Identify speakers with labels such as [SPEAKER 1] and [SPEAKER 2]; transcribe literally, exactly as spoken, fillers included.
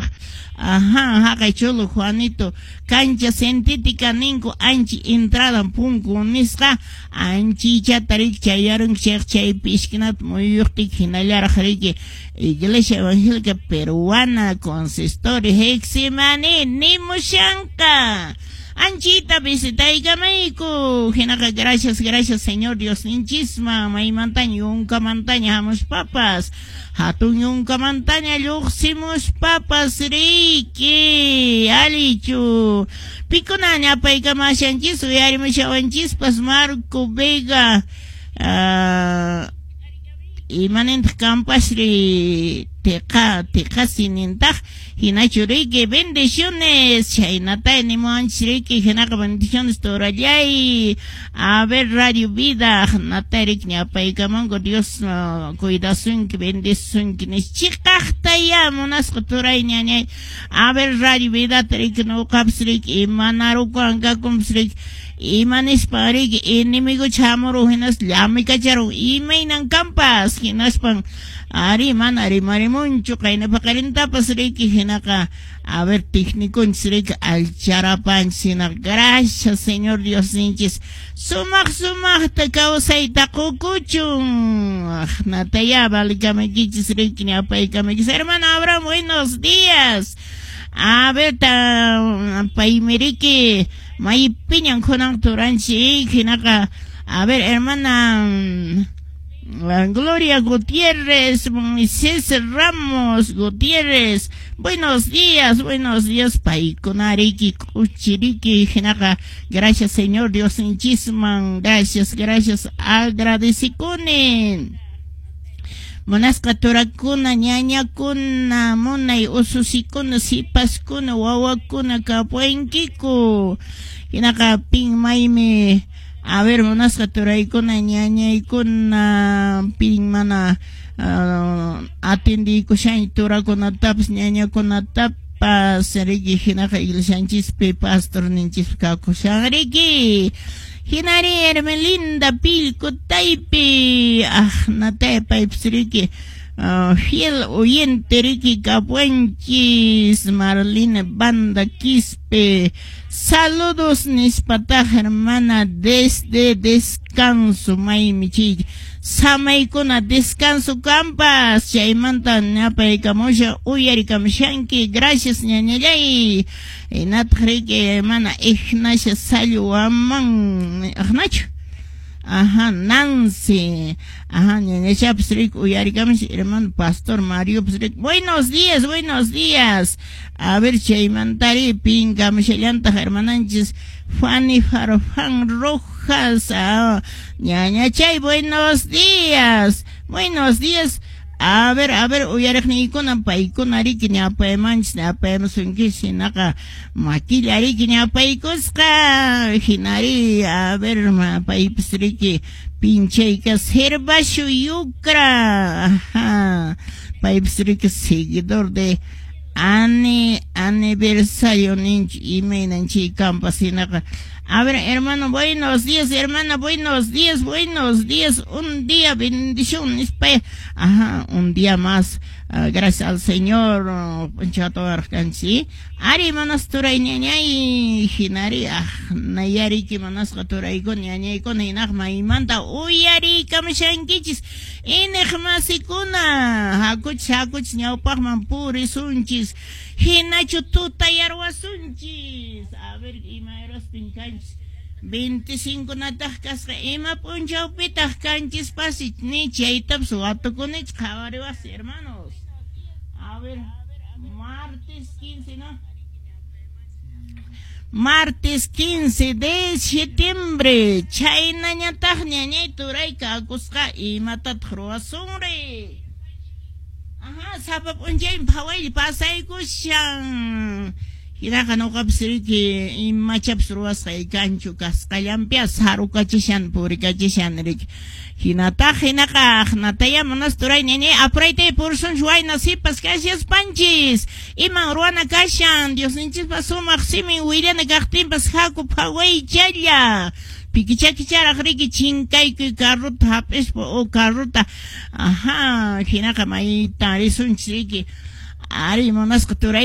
[SPEAKER 1] kaq. Ajá, haqay Cholo Juanito, cancha sintética ninku, anchi entrada punku nisqa, anchichata riki chayarunki chayqa chaypi esquinata muyuqtiki hinallaraq riki Iglesia Evangélica Peruana Consistorio Getsemaní nimushanqa. Anchita visitaykamayku. Hinaqa gracias, gracias Señor Dios ninchisman, maymantaña yunkamantaña hamuspapas, hatun yunkamantaña lluqsimuspapas riki, alichu. Pikunaña apaykamashanchis, uyarimushawanchispas Marco Vega, uh, imanintaq kampasri tiqa tiqasi nintaq hinachu riki bendiciones chaynata nimuwanchis riki hinaqa bendiciones turallay. A ver, Radio Vida nata riki ñapaykamanku Dios uh, cuidasunki bendisunki nis chiqaqta ya munasqa turay ñañay. A ver, Radio Vida riki nuqapas riki imanarukuwan kakunpas riki ima nispan riki enemigo chamuru hinas llamikacharun imaynan kampas hinaspan ari mana rimarimunchu qayna paqarintapas riki hinaqa a ver técniconchis riki alcharapanchis hinaqa gracias Señor Dios ninchis sumaq sumaqta kawsayta qukuchun nataya valikamaykichis riki ñapaykamaykichis. Hermano Abraham, buenos días. A ver, ta paymi riki maypiñan kunan turanchik hinaqa a ver, hermana Gloria Gutiérrez, César Ramos Gutiérrez, buenos días, buenos días, paykunariki, k'uchiriki, hinaqa, gracias Señor Dios ninchisman, gracias, gracias, agradecikunin. Munasqa turakuna, ñañakuna, munay ususikuna, sipaskuna, wawakuna kapuwankiku. Hinaqa pin maymi, a ver, munasqa turaykuna, ñañaykuna, pin mana uh, atendiykushan turakunatapas, ñañakunatapas, riki hinaqa iglesianchispi pastor ninchispi kakushan riki. Hinari Hermelinda Pilco Taypi, ah, natay paypis riki, uh, fiel oyente riki kapuanchis, Marlene Banda Quispe, saludos nispataq hermana desde descanso maymi chay samaykuna descanso kampas chaymanta ñapaykamusha uyarikamushanki gracias ñañallay. Hinataq riki hermana Ignacia Salluaman aqnachu ajá Nancy ajá ñañachapas riki uyarikamush hermano pastor Mario pues riki buenos días, buenos días. A ver chaymantari pinkamushallantaq hermananchis Fanny Farfán Rojas, ah, ñañachay buenos días, buenos días. A ver, a ver, uyariqniykuna paykuna riki ñapaymanchis ñapaymusunkichis hinaqa makilla riki ñapaykusqa hinari a ver paypis riki pinchayka Servasio Yucra, ajá, paypis riki seguidor de ani aniversario ninchi imaynan chay kampas hinaqa. A ver, hermano, buenos días, hermana, buenos días, buenos días, un día, bendición, ajá, un día más, uh, gracias al Señor, uh, ari manas turay ñañay, hinari, ah, nayariki manasqa turaykuna, ñañaykuna, hinaq maymanta uyarikamushankichis, iñiqmasikuna, hakuchis, hakuchis, ñawpaqman purisunchis, hinachu tutayarwasunchis, a ver, ima huraspin kanchis, veinticinco nataq kasqa, ima p'unchawpitaq kanchis pasi, ni chaytapas watukunich qhawariwaqsi, hermanos. A ver, martes quince, ¿no? Martes quince de septiembre, chaynañataq ñañay turay kakusqa imatataq ruwasunri. Ajá, sapa p'unchaymi phawaylla pasaykushan. Hinaqa nuqapas riki imachapas ruwasqay kanchu kasqallanpias sarukachishan purikachishan riki. Hinataq hinaqa aqnataya munas turay ñañay apuraytay purisunchis wayna sipas kashaspanchis. Iman ruwana kashan Diosninchispa sumaq simin willana kaqtinpas haku phawaychalla. Pikichakicharaq riki chinkaykuy carrota hap'ispa o carrota ajá hinaqa mayta risunchis riki. Ari munasqa turay